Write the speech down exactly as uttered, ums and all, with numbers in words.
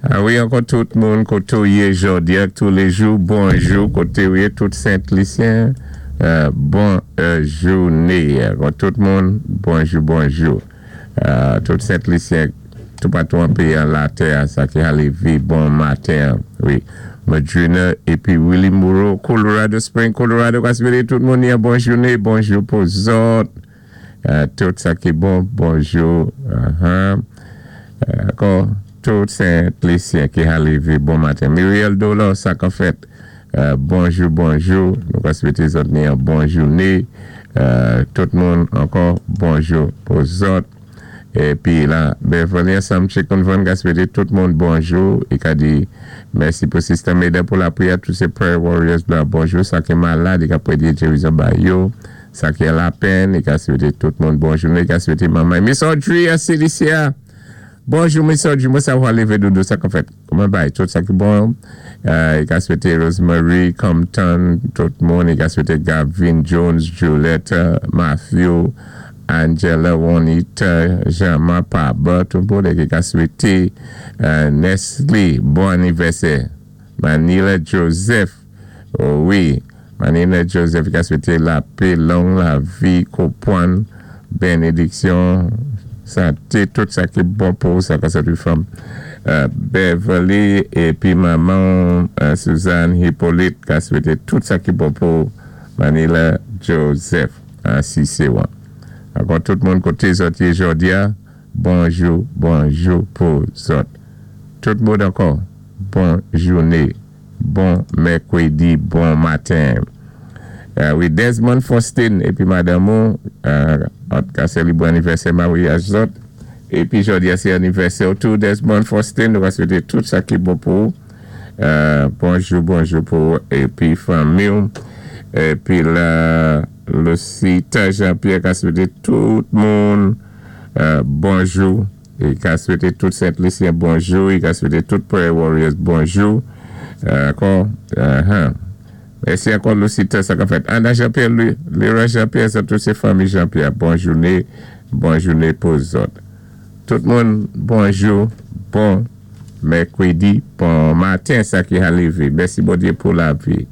Ah wi, ankò tout moun koté ou yé jòdi-a, touléjou, bonjou, koté ou yé, tout Sent-Lisyen, euh, bon euh, jouné. Ankò tout moun, bonjou, bonjou. Euh, tout Sent-Lisyen, toupatou an péyi an latè, sa ki ka lévé, bon maten, wi. Madrina épi Willie Moreau, Colorado Springs, Colorado, ka swété tout moun yon bon jouné, bonjou pou zòt. Euh, tout sa ki bon, bonjou. Uh-huh. Euh, ankò, tout Sent-Lisyen ki ka lévé, bon maten. Muriel Dolo, sa ka fèt, euh, bonjou, bonjou. Nou ka swété zòt ni yon bon jouné. Euh, tout moun, ankò, bonjou pou zòt. Épi la, Beverly Sam Chicken Van ka swété tout moun bonjou. I ka di mèsi pou Sister Meda pou lapriyè, tout sé prayer warriors la, bonjou. Sa ki malad, i ka pwédé gérizon ba yo. Sa ki lapèn, i ka swété tout moun bonjou. I ka swété manman. Miss Audrey a Celicia. Bonjou Miss Audrey, mwen sa wè lévé doudou sa ka fèt. Kouman bay, tout sa ki bon. Euh, i ka swété Rosemary, Compton, tout moun. I ka swété Gavin Jones, Juliette, Matthew, Angela, Juanita, Jean-Marc, Paba, tout moun ki ka swété euh, Nestle, bon anivèsè. Manila Joseph, oh wi, Manila Joseph ki ka swété lapè, long lavi, konpwann, bénédiksyon, santé, tout sa ki bon pou sa ka swété fanm. Euh, Beverly épi manman euh, Suzanne Hippolyte ka swété tout sa ki bon pou Manila Joseph, ansi sé wan. Ankò tout moun koté zòt yé jòdi-a, bonjou, bonjou pou zòt. Tout moun ankò, bon jouné, bon mèkwédi, bon maten. Euh, wi, Desmond Faustin épi madanm ou, euh, an ka sélébré anivèsè maryaj zòt. Épi jòdi-a sé anivèsè tou Desmond Faustin, nou va swété tout sa ki bon pou. Euh, bonjou, bonjou pou épi fanmi. Épi la Lucita Jean-Pierre ka swété tout moun euh, bonjou. É ka swété tout Sent-Lisyen bonjou. É ka swété tout Prayer Warriors bonjou. Euh, ankò, uh-huh. Mèsi ankò Lucita, sa ka fèt. Anna Jean-Pierre, Lera Jean-Pierre, sa tout sé fanmi Jean-Pierre. Bon jouné, bon jouné pou zòt. Tout moun, bonjou, bon mèkwédi, bon maten, sa ki ka lévé. Mèsi Bondyé pou lavi.